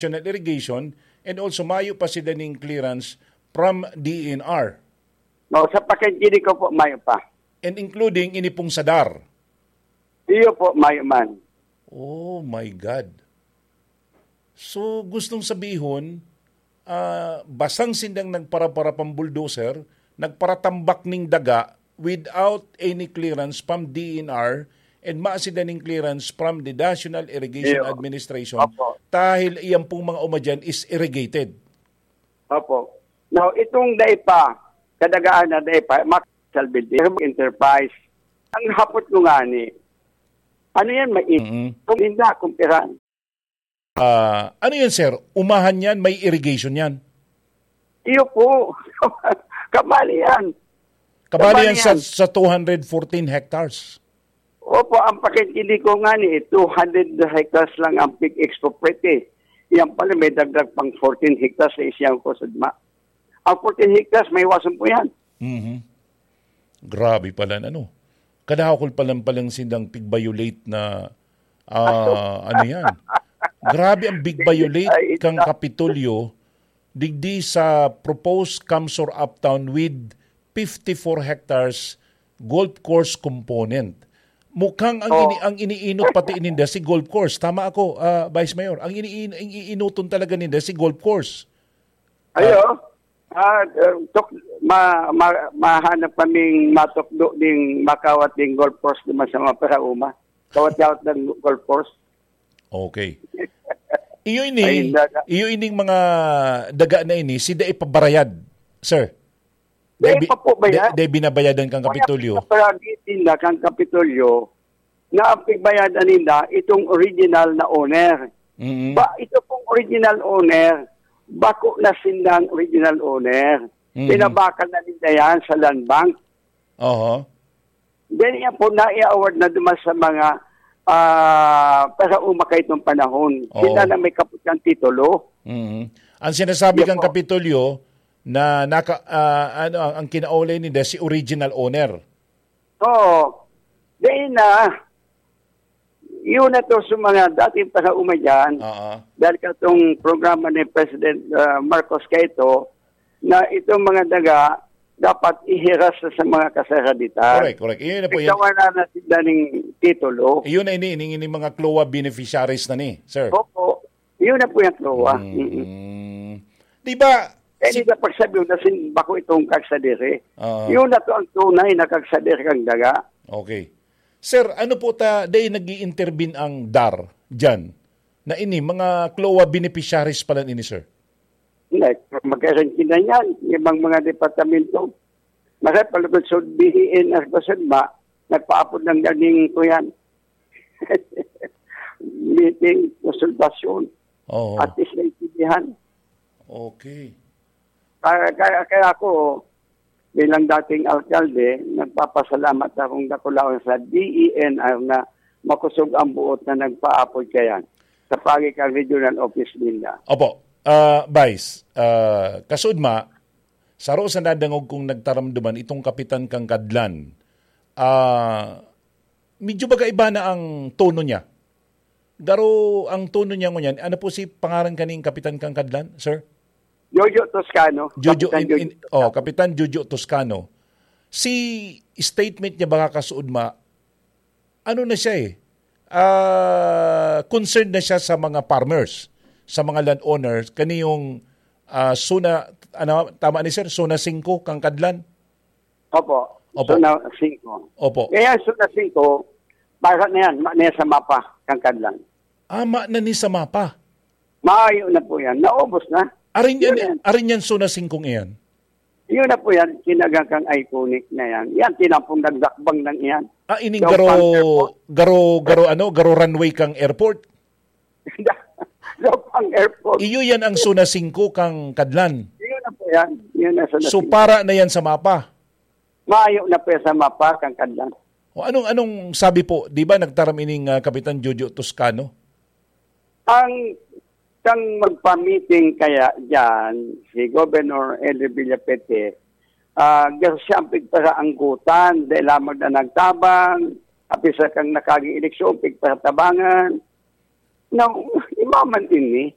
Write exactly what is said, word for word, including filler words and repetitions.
National Irrigation, and also mayo pa sinda ning clearance from D E N R. No, sa pakikinig ko po, mayo pa. And including ini pong sa DAR. Iyo po, mayo man. Oh my God. So, gustong sabihon, ah, basang sindang nagpara-para pang bulldozer, nagparatambak ning daga without any clearance from D E N R and maasi daning clearance from the National Irrigation Iyo. Administration. Opo. Dahil iyang pong mga uma dyan is irrigated. Opo. Now, itong dai pa, kadagaan na dai pa, Max Salvador Enterprise. Ang hapot ko nga ni, ano yan, mais? Mm-mm. Kung hindi, kung pira. Ah, ano yan, sir? Umahan yan? May irrigation yan? Iyo po. Kabali yan. Kabali Kabali yan sa, yan. Sa two hundred fourteen hectares. Opo, ang pakintindi ko nga ni, two hundred hectares lang ang pig expropriate. Yan pala, may dagdag pang fourteen hectares sa isang kusog ma. Ang fourteen hectares, may iwasan po yan. Mhm. Grabe pala, ano? Kadakul pa lang palang sindang pig-violate na, ah, ano yan? Grabe ang big violate Ay, kang ita- Kapitolyo, digdi sa proposed CamSur Uptown with fifty-four hectares golf course component. Mukhang ang Oh. ini-, ang iniinot pati ininda si golf course. Tama ako, ah, Vice Mayor. Ang ini-, ang iinuton talaga ninda si golf course. Ayo. Ah, eh, tok-, ma-, ma-, mahanap kaming matukdo ding makawat ding golf course naman sa mga parauma. Kawat-kawat ng golf course. Okay. Iyo ini, Ay, daga. Iyo ining mga daga na ini, si dai pa barayad, sir. Dai Dai bi-, pa po bayad. dai, dai binabayadan kang Kaya Kapitolyo. Pinaparagi nila kang Kapitolyo na ang pigbayadan nila itong original na owner. Mm. Ba, ito pong original owner, bako na sindang original owner. Mm. Pinabakal na nila yan sa Land Bank. Oho. Then yan po, nai-award na duman sa mga, ah, parauma kaitong panahon. Oo. Sila na may kaputang titulo. Mm. Ang sinasabi Yan kang po. Kapitolyo na naka-, ah, ano, ang, ang kinaulay nila si original owner. Oo. Then, ah, yun na to sa mga dating parauma dyan. Oo. Dahil katong programa ni President, ah, Marcos kaito, na itong mga daga dapat ihiras na sa mga kasaraditan. Correct, correct. Yun na po yan. Ikaw na na sila ning titulo. Yun na ini, ini, ini mga CLOA beneficiaries na ni, sir. Opo. Yun na po yung CLOA. Mm. Mm-mm. Di ba, Kaya si di na pagsabi na sin bako itong kagsadiri. Oo. Yun na to ang tunay na kagsadiri kang daga. Okay. Sir, ano po ta, dai nag-i-intervene ang DAR dyan? Na ini, mga CLOA beneficiaries pala ini, sir? Hindi, magkaintindihan yan. Ibang mga departamento. Masa palugod sa B E N R ko sa ba, nagpaapod ng ganing ko yan. Meeting, konsultasyon. Oo. At least naintindihan. Okay. Kaya, kaya, kaya ako, bilang dating alkalde, nagpapasalamat akong dakulaon sa D E N R na makusog ang buot na nagpaapod kayan sa pagi kan regional office ninda. Opo. Ah, Vice, ah, kasudma, saro sa nadangog kong nagtaramduman itong kapitan kang Kadlan. Ah, medyo baga iba na ang tono niya. Garo ang tono niya ngunyan. Ano po si pangaran kaning kapitan kang Kadlan, sir? Jojo Toscano. Jojo, Kapitan in, Jojo in, Toscano. Oh, Kapitan Jojo Toscano. Si statement niya, baka kasuod ma, ano na siya eh, ah, concerned na siya sa mga farmers, sa mga landowners, kani yung, ah, zona, ano, tama ni sir, zona singko kang Kadlan? Opo. Opo. Zona singko. Opo. Kaya zona singko, para na yan, ma-, na yan sa mapa, kang Kadlan. Ah, ma-, na ni sa mapa? Maayo na po yan. Naubos na. Arin yan, Yun yan. Arin yan zona singkong iyan? Yun na po yan, kinagang kang iconic na yan. Yan, tinampong nagdakbang lang yan. Ah, ining Daw garo, pang airport. Garo, garo, ano, garo runway kang airport? Daw pang airport. Iyo yan ang zona singko kang Kadlan. Yun na po yan. Yun na zona So, singko. Para na yan sa mapa? Maayo na po yan sa mapa kang Kadlan. O, anong, anong sabi po? Di ba nagtaram ining, ah, Kapitan Jojo Toscano? Ang, kang magpa-meeting kaya dyan, si Governor Elder Villapete, ah, siya ang pigparaanggutan, dahil lamang na nagtabang, apisa kang nakaging eleksyon, pigparatabangan. Now, iba man ini,